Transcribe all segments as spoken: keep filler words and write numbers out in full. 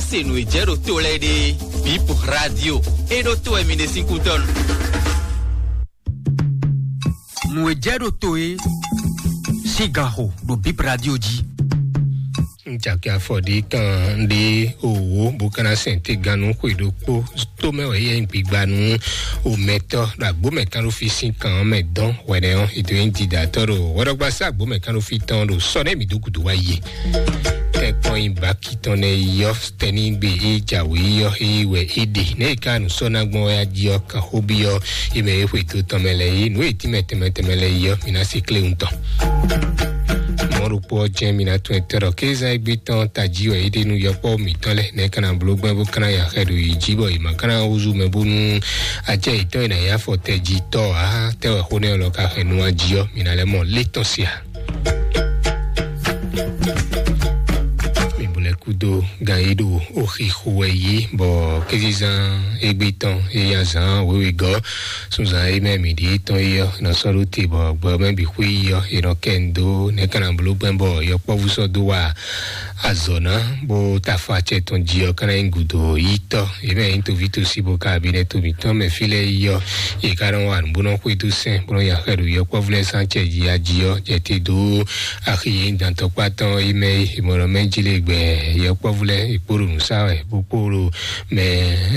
Se nǔ e jɛ ɖo to lɛ́ɛ ɖe, Bip Radio, e ɖo to wɛ mi ɖe sín kútɔ́ nu. Nǔ e jɛ ɖo to e sín ganxo ɖo Bip Radio jí. Ŋjaki afɔ ɖi kan ɖi owó bó kana sɛn te ganu xwe ɖokpó tó mɛ wɛ yɛ gbigba nú omɛtɔ ɖo agbómɛ kan ɖo fi sín kan mɛ dɔn wɛnɛ ɔ́, ètò yẹn dida tɔ ɖo wɛɖɔgba sá agbómɛ kan ɖo fi tɔn ɖo sɔ nɛ mi dó gudu wa yi. Tɛkpɔn yi baki tɔn nɛ yɔ tɛnigbe yi jawe yɔ yi wɛ yi ɖe nɛ yi ka nu sɔ na gbɔn ya di ɔ kan xó bi ɔ yi mɛ yi xwe to tɔn mɛ lɛ yi nu yi ti mɛ tɛmɛ tɛmɛ lɛ yi ɔ mi na se kle ŋutɔ. Mɔɖokpɔ jɛ mi na tún ɛtɛ ɖɔ kéza egbe tɔn taji wɛ yi ɖe nu yɔkpɔ mi tɔn lɛ nɛ kana blo gbɛ bó kana ya xɛ ɖo yi ji bɔ yi ma kana wuzu mɛ bónú acɛ yi tɔn yi na ya fɔ tɛ ji tɔ a tɛ wɛ xó nɛ lɔ ka xɛ nu a ji ɔ mi na lɛ mɔ lé tɔn sia. Mi bu lɛ kudo gan yi ɖo oxi xo wɛ yi bɔ kézizan egbe tɔn eya zan wewe gɔ sunzan yi mɛ mi ɖi tɔn yi ɔ nɔ sɔ ɖo te bɔ gbɔ mɛ bi xwe yi ɔ yi nɔ kɛ ndo nɛ kana blo gbɛ bɔ yɔkpɔvu sɔ do wa azɔ na bó ta afɔ acɛ tɔn ji ɔ kana yi gudo yi tɔ yi mɛ yi tovi tosi bó ka bi nɛ to mi tɔn mɛ fi lɛ yi ɔ yi ka nɔ wa nu bó nɔ xwe do sɛn bó nɔ ya xɛ ɖo yɔkpɔvu lɛ san cɛ ji aji ɔ jɛ te do axi yi dantɔkpa tɔn yi mɛ yi mɔlɔ mɛ ji le gbɛ yɔkpɔvu lɛ yi kpo ɖo nu sa wɛ bó kpo ɖo mɛ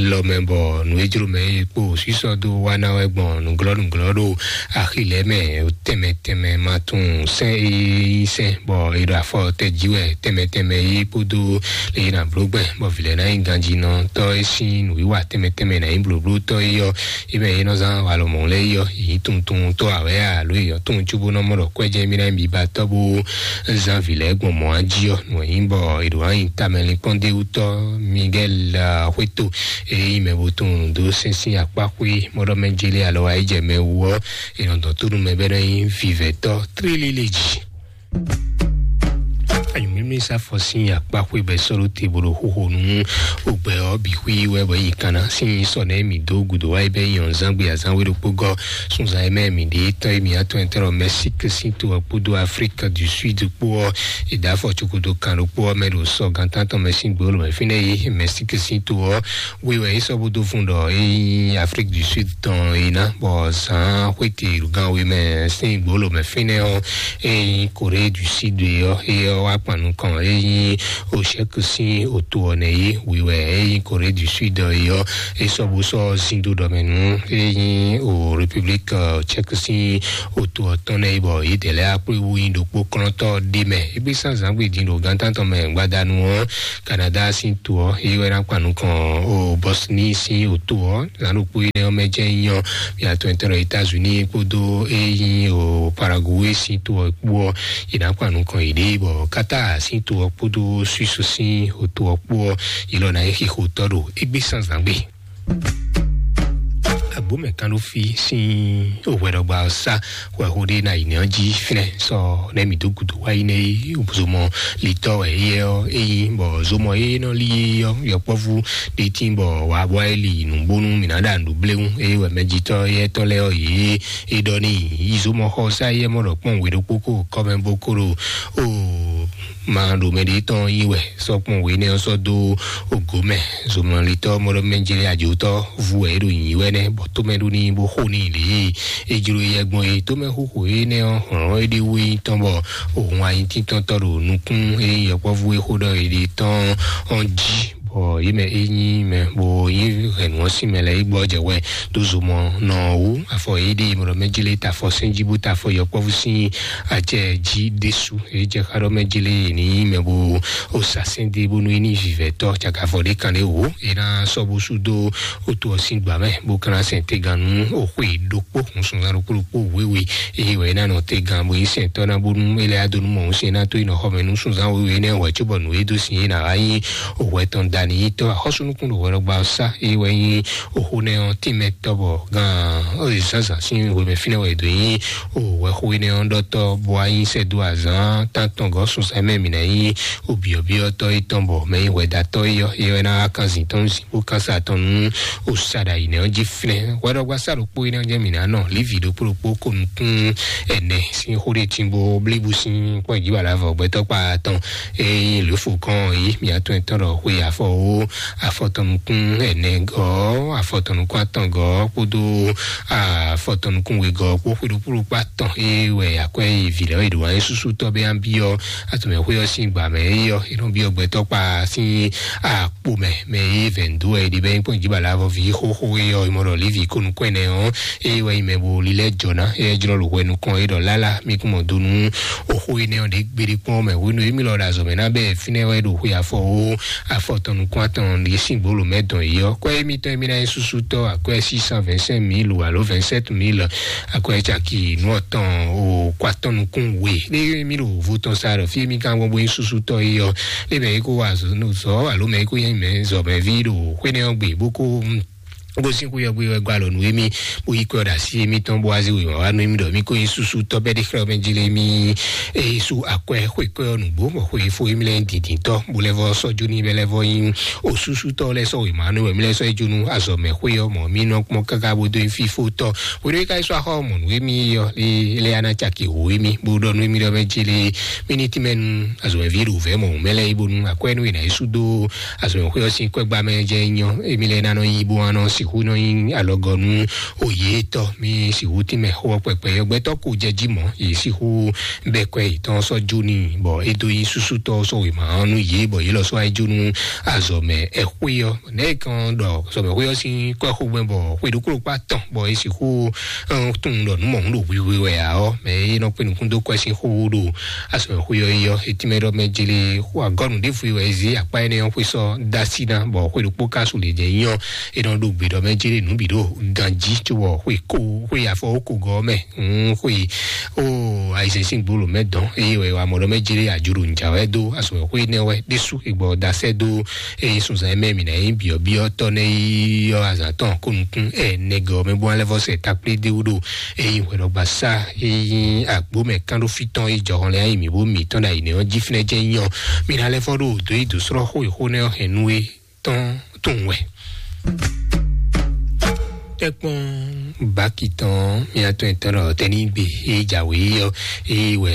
lɔ mɛ bɔ nu e jlo mɛ yi kpo sisɔ do wa na wɛ gbɔn nuglɔ nuglɔ ɖo axi lɛ mɛ tɛmɛ tɛmɛ ma tun sɛn e yi sɛn bɔ e ɖo afɔ tɛ ji wɛ tɛmɛ tɛmɛ yi kpodo le yi na blo gbɛ bɔ vi lɛ na yi ganjinɔ tɔ e sin nu wiwa tɛmɛ tɛmɛ na yi bloblo tɔ yi yɔ yi mɛ yi nɔ zan walɔ mɔ lɛ yi yɔ yi tuntun tɔ awɛ alo yi yɔ tun tsubo nɔ mɔ ɖɔ kwɛjɛ mi na yi bi ba tɔ bo zan vi lɛ gbɔn mɔ aji yɔ nu yi bɔ e ɖo anyi tamɛ linkpɔn de wutɔ Miguel Hueto e yi mɛ bo tun do sɛnsin akpa xwe mɔɖɔ mɛ jeli alɔ ayi jɛ mɛ wu ɔ e nɔ dɔn tónú mɛ bɛ nɔ yi vivɛtɔ trilili ji. Anyumimi sa fɔ sin akpa xwe bɛ sɔlo te bolo xoxo nu ogbɛ ɔ bi xwi wɛ bɔ yi kana sin sɔ nɛ mi do gudo wa bɛ yi ɔnzan gbe azan we ɖokpo gɔ sunzan mɛ mi de tɔ mi atɔ ɛtɛrɔ Mexique sin to ɔ kpodo Afrique du Sud kpo ɔ eda fɔ tsokoto kan ɖokpo ɔ mɛ ɖo sɔ gantan tɔn mɛ sin gbolo mɛ finɛ yi Mexique sin to ɔ we wɛ yi sɔ bo do fun ɖɔ eyi Afrique du Sud tɔn yi na bɔ zan xwete gan we mɛ sin gbolo mɛ finɛ ɔ eyi Corée du Sud yɔ eyɔ wa kpan nukɔn eyi o chèque sin o to ɔ nɛ yi wi wɛ eyi Corée du Sud yɔ e sɔ bo sɔ zindo ɖɔ mɛ nu eyi o République Tchèque sin o to ɔ tɔn nɛ yi bɔ yi dɛ lɛ akpé wu yi ɖokpo klɔntɔ ɖe mɛ egbe san zangbe din ɖo gantantɔ mɛ gbadanu ɔ Canada sin to ɔ eyi wɛ na kpan nukɔn o Bosnie sin o to ɔ zan ɖokpo yi nɛ ɔ mɛ jɛ nyɔ mi atɔ ɛtɛnɔ États-Unis kpodo eyi o Paraguay sin to ɔ kpo ɔ yi na kpan nukɔn yi ɖe bɔ Qatar sin to ɔ kpodo Suisse sin o to ɔ kpo ɔ yi lɔ na yi xixo tɔ ɖo egbe san zangbe. Agbomɛ kan ɖo fi sin owɛɖɔgba ɔ sá wɛ xo ɖe na yi nɛ ɔ jí finɛ sɔ nɛ mi dó gudu wá yi nɛ yi zomɔ litɔ wɛ yɛ ɔ eyi bɔ zomɔ yɛ nɔ li yɛ ɔ yɔkpɔvu ɖe tin bɔ wà bɔ e li nubonu mi na ɖa ndu bléwu eye wɛ mɛjitɔ yɛ tɔ lɛ ɔ yi e ɖɔ ni yi zomɔ xɔ sá yɛ mɔ ɖɔ kpɔn we ɖokpo ko kɔmɛ bo ko ɖo o ma ɖo mɛ ɖe tɔn yi wɛ sɔ kpɔn we nɛ ɔ sɔ dó ogo mɛ zomɔlitɔ mɔɖɔmɛjɛlɛ ajotɔ vu wɛ é ɖo nyi wɛ nɛ bɔ tomɛ ɖo ni bó xo ni lě e jlo yɛ gbɔn é tomɛ xóxó é nɛ ɔ hlɔn é ɖe wé tɔn bɔ òhun ayi títɔn tɔ ɖo nukún é yɔkpɔvu é xó ɖɔ é ɖe tɔn ɔn jí bɔ yé mɛ é nyí mɛ bó yí hɛn nǔ ɔ́ sín mɛ lɛ́ɛ é gbɔ jɛ wɛ dó zomɔ nɔ wú afɔ é ɖe mɔɖɔmɛjɛlɛ ta afɔ sɛn jí bó ta afɔ yɔkpɔvu sín acɛ jí ɖésú. Ejɛ xa ɖɔ mɛ jele ni mɛ bo o sa sɛn de bonu yi ni vivɛ tɔ caka vɔ ɖe kan ɖe wo e na sɔ bo su do o to ɔsin gba mɛ bo kana sɛn te gan nu o xwe ɖokpo hun sunzan ɖokpo ɖokpo wewe eye wɛ na nɔ te gan bo yi sɛn tɔ na bonu ele ado nu mɔ hun sɛn na to yi nɔ xɔ mɛ nu sunzan wewe ne wɛ tso bɔ nu e do sin e na wa yi o wɛ tɔn da ni yi tɔ axɔsu nukun ɖo wɛ ɖɔ gba sa eye wɛ yi o xo nɛ ɔ tin mɛ tɔ bɔ gan o yi zanzan sin wɛ mɛ finɛ wɛ do yi o wɛ xo yi nɛ ɔ ɖɔ tɔ bo wa yi sɛ do azan tan tɔn gɔ sunzan mɛ mi na yi o biɔ biɔ tɔ yi tɔn bɔ mɛ yi wɛ da tɔ yi yɔ ye wɛ na wa kan zin tɔn zin bó kan sa tɔn nu o sa ɖa yi nɛ ɔ jí finɛ wɛ ɖɔ gba sa ɖokpo yi nɛ ɔ jɛ mi na nɔ livi ɖokpo ɖokpo ko nukun ɛnɛ sin xo ɖe tin bo blibu sin kpɔ yi jí wala vɔ gbɛtɔ kpa tɔn eyi lofo kɔn yi mi atɔn ɛtɔn ɖɔ xwe afɔ o afɔtɔnukún ɛnɛgɔ́, afɔtɔnukún atɔngɔ́ kpódó afɔtɔnukún wegɔ́ kpó xwéɖokpóɖokpó atɔn é wɛ akwɛ́ yi vǐ lɛ́ɛ é ɖo wá nyí súsútɔ́ bɛ́ byɔ́ atɔmɛxwé ɔ́ sín gbǎ mɛ é yɔ é nɔ byɔ́ gbɛtɔ́ kpa sín akpo mɛ mɛ é vɛ̌ dó wɛ é ɖi bɛ́ nyí kpɔ́n jí bala avɔ ví xóxó é yɔ é mɔ ɖɔ Lévi kó nukún ɛnɛ ɔ́ é wɛ nyí mɛ bo lílɛ́ jɔ ná é jlɔ́ ɖo hwɛ nukɔn é ɖɔ lála mí kún mɔ dó nú oxó énɛ́ ɔ́ ɖě gbeɖé kpɔ́n mɛ hwenu émí lɔ ɖo azɔ̌ mɛ ná bɛ́ fínɛ́ wɛ ɖo xwe afɔ ó afɔ tɔn nukún atɔn ɖě sín gbolo mɛ dɔn yi ɔ́ kɔ́ émítɔn émí ná nyí súsútɔ́ akwɛ́ six cent vingt-cinq mille alo vingt-sept mille akwɛ́ caki nú ɔtɔn o kó atɔn nukún we ɖé émí ɖo vo tɔn sa ɖɔ fí émí kan gbɔn bó nyí súsútɔ́ yi ɔ́ lé mɛ é kó wa azɔ̌ alo mɛ é kó nyí mɛ zɔmɛví ɖo xwénɛ́ ɔ́ gbe bó kó gosín xú yɔgbe wɛ gba alɔ nú émí bó yí kɔ ɖo así émítɔn bó wá zé wěma wá nú émí ɖɔ mí kó nyí súsú tɔ́ bɛ́ ɖé xlɛ́ mɛ jí lé mí. Eye sú akwɛ́ xwe kɔ ɔ́ nǔgbó bɔ xwe fó émí lɛ́ɛ nyí dǐndíntɔ́ bó lɛ́ vɔ sɔ́ jó ní bɛ́ lɛ́ vɔ nyí o súsútɔ́ lɛ́ɛ sɔ́ wěma nú wɛ mí lɛ́ɛ sɔ́ yi jó nú azɔ̌ mɛ xwé ɔ́ mɔ mí nɔ kpɔ́n káká bó dó nyí fífótɔ́. Hwenu e ka yi sɔ́ axɔ mɔ nǔ émí yɔ lé lɛ́ ana caki wǒ émí bó ɖɔ nú émí ɖɔ mɛ jí lé mí ní tínmɛ nú azɔ̌ mɛ ví ɖo vɛ̌ mɔ mɛ lɛ́ɛ yí bónú akwɛ́ nú è nǎ yi sú dó azɔ̌ mɛ xwé ɔ́ sín kwɛ́gbá mɛ jɛ nyɔ émí lɛ́ɛ ná nɔ yí bó wá nɔ sixú nɔ nyí alɔgɔ́ nú òye tɔ́ mí sixú tínmɛ xó ɔ́ kpɛkpɛ yɔ gbɛtɔ́ ko jɛ jí mɔ̌ yě sixú bɛ́ kwɛ́ yětɔn sɔ́ jó n'i bɔ é dó nyí súsútɔ́ sɔ́ wěma ɔ́ nú yě bɔ yě lɔ sɔ́ wá yi jó nú azɔ̌ mɛ ɛxwé ɔ́ nɛ̌ kan ɖɔ azɔ̌ mɛ xwé ɔ́ sín kwɛ́ xó gbɛn bɔ xwé ɖokpó ɖokpó atɔn bɔ é sixú tunwun ɖɔ nǔ mɔ̌hun ɖo hwihwe wɛ ǎ ɔ́ mɛ é nɔ kpé nukún dó kwɛ́ sín xó ɖo azɔ̌ mɛ xwé ɔ́ yi ɔ́ etí mɛ ɖɔ mɛ jele xó agɔ́nu ɖěvo yi wɛ é zé akpá énɛ́ ɔ́ xwé sɔ́ dó así ná bɔ xwé ɖokpó ka su lě jɛ nyɔ é nɔ ɖo gbe ɖɔ mɛ jele nǔ bǐ ɖo ganjí cóbɔ xwé kó xwé afɔ ó kó gɔ́ mɛ. Xwé ó ayizɛn sín gbolo mɛ dɔn eye wɛ wà mɔ ɖɔ mɛ jele àjò ɖo njà wɛ dó azɔ̌ mɛ xwé nɛ wɛ ɖésú egbɔ dasɛ dó eye sunzan mɛ mi na yi biɔ biɔ tɔ ne yi yɔ azan tɔn ko nukun ɛ nɛgɛ mɛ bɔ alɛ vɔ sɛ takplé de wuɖo eye hwɛɖɔgba sa eye agbo mɛ kan ɖo fitɔn eye jɔhɔn lɛ ayi mi bo mi tɔn da yi ne ɔn ji finɛ jɛ nyɔ mi na lɛ fɔ ɖo do yi do srɔ xo yi xo ne ɔ hɛn nu e tɔn tun wɛ. Tɛkpɔn baki tɔn miatɔn etɔn ɖɔ tɛnigbe e jawé yɔ eye wɛ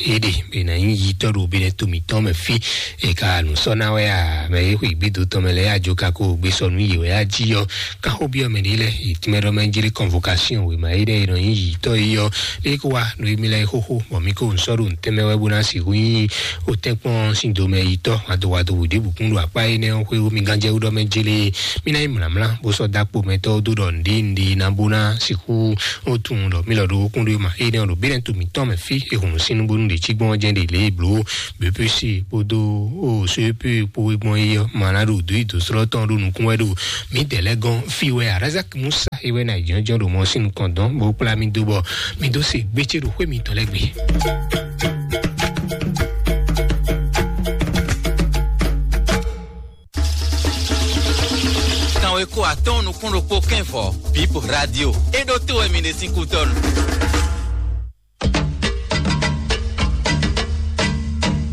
e ɖe bena yi yitɔ ɖo bena tomi tɔn mɛ fi e ka nu sɔ na wɛ a mɛ e xwe gbedo tɔn mɛ lɛ ya jo ka ko gbe sɔ nu yi wɛ ya ji yɔ kan xo biɔ mɛ ɖe lɛ yi tɛmɛ ɖɔ mɛ jeli convocation we ma yi ɖe yi nɔ yi yitɔ yi yɔ e ko wa nu emi lɛ xoxo bɔ mi ko nsɔ ɖo ntɛmɛ wɛ bo na si hu yi o tɛkpɔn sin do mɛ yitɔ wado wado wò ɖe bukun ɖo akpa yi nɛ xwe wo mi ganjɛ wo ɖɔ mɛ jeli mi na yi mlamla bó sɔ dakpo mɛ tɔ do ɖɔ ndi ndi na bo na si hu o tun ɖɔ mi lɔ ɖo okun ɖo ma e nɛ ɖo bi nɛ to mi tɔn mɛ fi ehun sinu bonu ɖe ci gbɔn jɛ ɖe le blo bepesi kpodo o sepe kpo gbɔn yi yɔ ma na ɖo do yi do srɔ tɔn ɖo nukun wɛ ɖo mi dɛ lɛ gɔn fi wɛ arazak musa ewɛ na jɔnjɔn ɖo mɔ sinu kɔn dɔn bo kpla mi do bɔ mi do se gbetse ɖo xwe mi tɔ lɛ gbe. Kanwe ko atɔn nukun ɖokpo kɛn vɔ bip radio e ɖo to wɛ mi ɖe sín kútɔnu.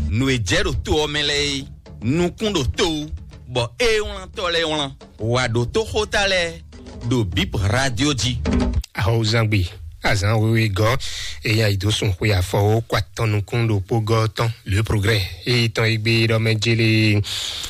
Nu e jɛ ɖo to ɔ́ mɛ lɛ́ɛ é nukun ɖo to wú bɔ é wlán tɔ lɛ́ɛ wlán wa ɖo toxóta lɛ́ɛ ɖo bip radio jí. Ahɔwuzangbe azan wewe gɔ eya yi do sun xwe afɔwo kó atɔn nukun ɖokpó gɔ tɔn le progrès eyi tɔn egbe ɖɔ mɛ jele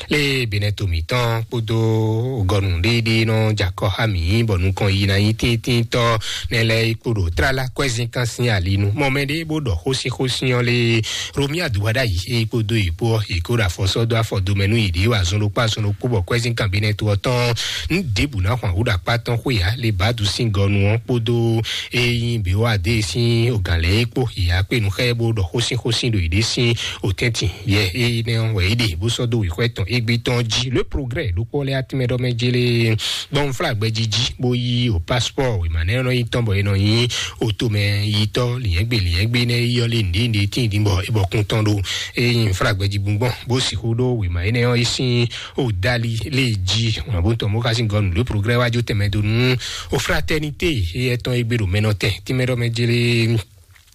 le benɛ to mǐtɔn kpódó gɔnu ɖéɖé nɔ jakɔ ha mǐ bɔ nukɔn yi na yi tíntíntɔ nɛ lɛ kpo ɖo tlala kɔɛzinkan sín alinu mɔ mɛ ɖé bó ɖɔ xósíxósí ɔ́ lé romi aduwaɖa yi eyi kpódó yi kpó ɔ́ yi kó ɖo afɔsɔ dó afɔ domɛ nú yi ɖě wa zɔn ɖokpó azɔn ɖokpó bɔ kɔɛzinkan benɛ to ɔ́ tɔn nu ɖěbǔ ná hwan wǔ ɖo akpá tɔn xwé ya le badu sín gɔnu ɔ́ kpódó eyi bǐ wá dé sín ogǎn lɛ́ɛ kpó yi akpé nu xɛ bó ɖɔ xósíxósí ɖo yi ɖě sín otɛntin yɛ eyi nɛ wɛ yi ɖe bó sɔ́ dó wǐxɔ́ tɔn égbé tɔn jí le progrès ɖokpó lɛ atínmɛ ɖɔ mɛ jélé gbɔn fla gbɛjiji bó yí o passeport wěma nɛ nɔ yi tɔn bɔ e nɔ nyi o tomɛ yitɔ liɛngbe liɛngbe nɛ yɔ lé nɖe nɖe tín dín bɔ e bɔ kún tɔn ɖo eyi fla gbɛji gbɔn bó sixú ɖó wěma énɛ́ ɔ́ yi sín o dali lé jí wọn bó tɔn bó xá sín gɔnu le progrès wájú tɛmɛ dó nú o fraternité eyɛ tɔn égbé ɖo mɛ nɔ tɛn tínmɛ ɖɔ mɛ jélé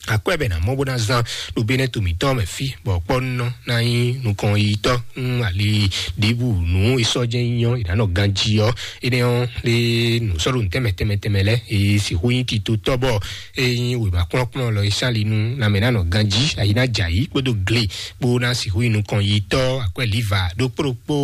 Akwɛ́ bɛ ná mɔ bó ná zán ɖo Benɛto mǐtɔn mɛ fí, bɔ kpɔ́nɔ ná nyí nukɔn yitɔ́. Ali ɖěbǔ nǔ e sɔ́ jɛ́n nyí ɔ́, è nǎ nɔ ganjí ɔ́. Énɛ́ ɔ́ lé nǔ sɔ́ ɖo nǔ tɛnmɛ tɛnmɛ tɛnmɛ lɛ́ɛ, e sixú nyí titotɔ́ bɔ e nyí wěma kplɔ́nkplɔ́n lɔ e sán ali nú lanmɛ ná nɔ ganjí, ayi ná jɛ ayǐ kpódó gle kpó ná sixú nyí nukɔn yitɔ́. Akwɛ́ liva ɖokpó ɖokpó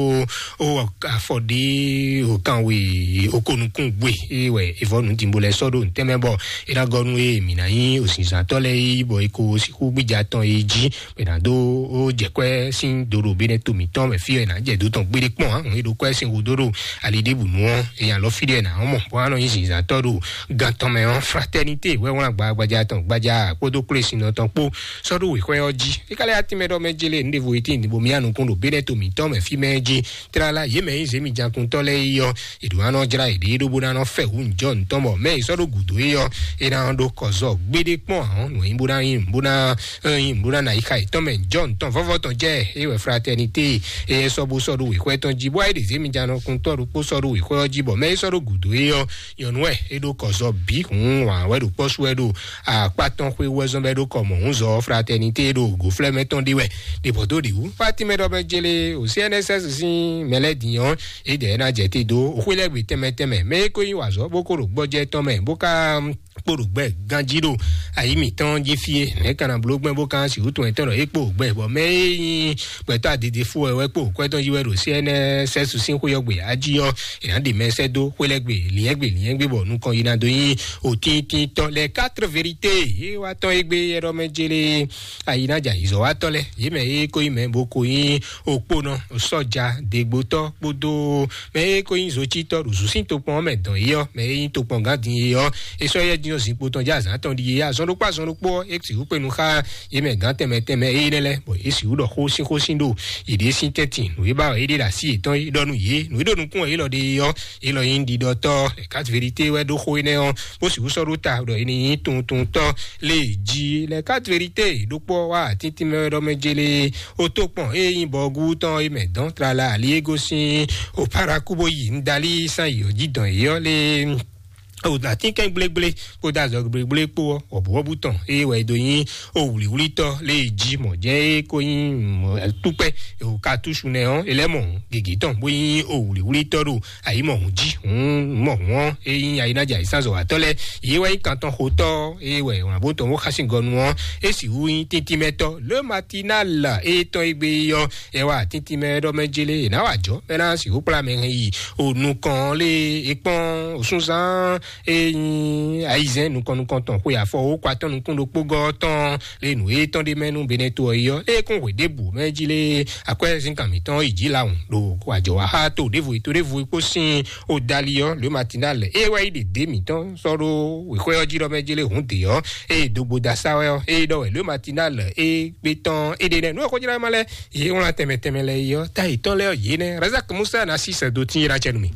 ó afɔ ɖé o kanwe o ko nukún gbe. E wɛ evɔ nǔdimbo lɛ sɔ́ ɖo ntɛ́mɛ bɔ é ná gɔ́ nú e mǐ ná nyí òsǐnzǎntɔ́ lɛ́ɛ yí bɔ é ko sixú gbíja tɔn e jí bɛ ná dó ó jɛ kwɛ́ sín do ɖo Benɛto mǐtɔn mɛ fí ɔ́, è nǎ jɛ dó tɔn gbéɖé kpɔ́n ǎ. È ɖo kwɛ́ sín hu dó ɖo ali ɖěbǔ nu ɔ́, è nyi alɔ fí ɖé è nǎ mɔ bɔ á nɔ nyí zǐnzǎntɔ́ ɖo gan tɔn mɛ ɔ́. Fraternité wɛ wlán gbagbaja tɔn gbaja kpódó kplé sin tɔn kpó sɔ́ ɖó wěxwɛ ɔ́ jí. Fíkálẹ̀ atínmɛ ɖɔ mɛ jélé ní ɖevo etí ní bo mía nukún ɖo Benɛto mǐtɔn mɛ fí mɛ jí. Tlala yě mɛ nyí zěmijakuntɔ́ lɛ́ɛ yi ɔ́, è ɖǒ ná nɔ jlá yěɖée ɖó bó ná nɔ fɛ hǔn jɔ ntɔn bɔ mɛ yi sɔ́ ɖó gǔdo é ɔ́, é ná ɖó kɔzɔ gbéɖé kpɔ́n ahɔn nǔ e bó ná nyí bó ná nyí bó ná na yi xa yětɔn mɛ jɔ ntɔn vɔvɔ tɔn jɛ é wɛ fraternité é sɔ́ bó sɔ́ ɖó wěxwɛ tɔn jí bó ayé ɖe zěmijanɔkuntɔ́ ɖokpó sɔ́ ɖó wěxwɛ ɔ́ jí bɔ mɛ yi sɔ́ ɖó gǔdo é ɔ́, nyɔ̌nu wɛ é ɖó kɔzɔ bǐ hǔn wǎn wɛ ɖo kpɔ́ sú wɛ ɖo akpá tɔn xwé wɛ zɔn bɛ ɖó kɔ mɔ̌ húnzɔ fraternité ɖo gǒflɛ́mɛ tɔn ɖi wɛ. Ɖe bɔ dó ɖi wú fatimɛ ɖɔ bɛ jele o C N S S sín mɛlɛdin ɔ́, é dɛ ná jɛ te dó xwé lɛ́ gbe tɛnmɛ tɛnmɛ mɛ é ko nyí wazɔ bó ko ɖo gbɔjɛ tɔn mɛ bó ka kpo ɖo gbɛ ganjí ɖo ayi mǐtɔn jí fie nɛ̌ kana bló gbɛn bó kan si wútu ɛtɔn ɖɔ é kpo gbɛ bɔ mɛ é nyí gbɛtɔ́ adede fú wɛ wɛ kpo kwɛtɔn yi wɛ ɖo C N S S sín xwé ɔ́ gbe ají ɔ́, è nǎ ɖe mɛ sɛ́ dó xwé lɛ́ gbe liɛ́ngbe liɛ́ngbe bɔ nukɔn yi ná dó nyí òtíntítɔ́ lɛ quatre vérité. É wá tɔn é gbé ɛɖɔ mɛ jélé ayi ná jɛ ayizɔ́wátɔ́ lɛ yě mɛ é kó nyí mɛ bó ko nyí òkponɔ sɔ́ja degbotɔ́ kpódó mɛ é kó nyí zocítɔ́ ɖo zǔsín tokpɔn ɔ́ mɛ dɔn é ɔ́, mɛ é nyí tokpɔngán din é ɔ́, é sɔ́ yɛ dín ɔ́ zinkpo tɔn jɛ azǎn tɔn ɖi é azɔn ɖokpó azɔn ɖokpó ɔ́, é sixú kpé nu xá yě mɛ gǎn tɛnmɛ tɛnmɛ é nɛ́ lɛ́ɛ bɔ é sixú ɖɔ xó sín xó sín ɖo yěɖée sín tɛ́ntin nǔ é ba wɛ é ɖe ɖo así yětɔn é ɖɔ nú yě nǔ é ɖo nukún wɛ é lɔ ɖe é ɔ́, é lɔ nyí ɖiɖɔtɔ́ lɛ quatre vérité wɛ ɖó xó énɛ́ ɔ́, bó sixú sɔ́ ɖó ta ɖɔ é ní nyí tuntuntɔ́ lé jí lɛ quatre vérité ɖokpó wá tíntín mɛ wɛ ɖɔ mɛ jélé ó tó kpɔn é nyí bɔgú tɔn é mɛ dɔn tlala ali é gosín ó paraku bó yi ŋdalí sán yi ɔjí dɔn é ɔ́ lé. O atínkɛn gblégblé kpódó azɔ gblégblé kpó ɔ́, wɔ̌buwɔ́bú tɔn é wɛ é dó nyí o wlǐwlítɔ́ lé jí mɔ̌ jɛ́n é kó nyí túkpɛ́ o katúsu nɛ ɔ́, é lɛ́ mɔ gěgé tɔn bó nyí o wlǐwlítɔ́ ɖo ayǐ mɔ hǔn jí hǔn mɔ hǔn ɔ́, é nyí ayínájà ìsánzɔ́watɔ́ lɛ́ɛ. Yě wɛ nyí kantɔn xotɔ́ é wɛ wǎn bó tɔn bó xá sín gɔnu ɔ́, é sixú nyí tíntímɛtɔ́ le matinal é tɔn é gbé ɔ́, é wá tíntímɛ ɖɔ mɛ jélé é ná wá jɔ mɛ ná sixú kplá mɛ hɛn yi o nukɔn lé é kpɔ́n o súnzán é nyí ayizɛ́n nukɔn nukɔn tɔn xwe afɔ ó kó atɔ́ nukún ɖokpó gɔ́ tɔn lé nǔ é tɔn ɖé mɛ nú Benɛto ɔ́ yi ɔ́ é kún hwe ɖěbǔ mɛ jí lé akwɛ́ zínkan mǐtɔn yi jí lawun ɖo wàjɔ wá xá to ɖěvo yi to ɖěvo yi kpó sín o dali ɔ́ le matinal é wá yi ɖe dě mǐtɔn sɔ́ ɖó wěxwé ɔ́ jí ɖɔ mɛ jí lé hǔn dě ɔ́ é dogbo da sá wɛ ɔ́ é ɖɔ wɛ le matinal é gbé tɔn é ɖe nɛ nú ɔ́ xó jlá ma lɛ yě wlán tɛnmɛ tɛnmɛ lɛ yi ɔ́ ta yětɔn lɛ ɔ́ yě nɛ Razak Musa ná sí sɛdo tín yé ná cɛ nú mi.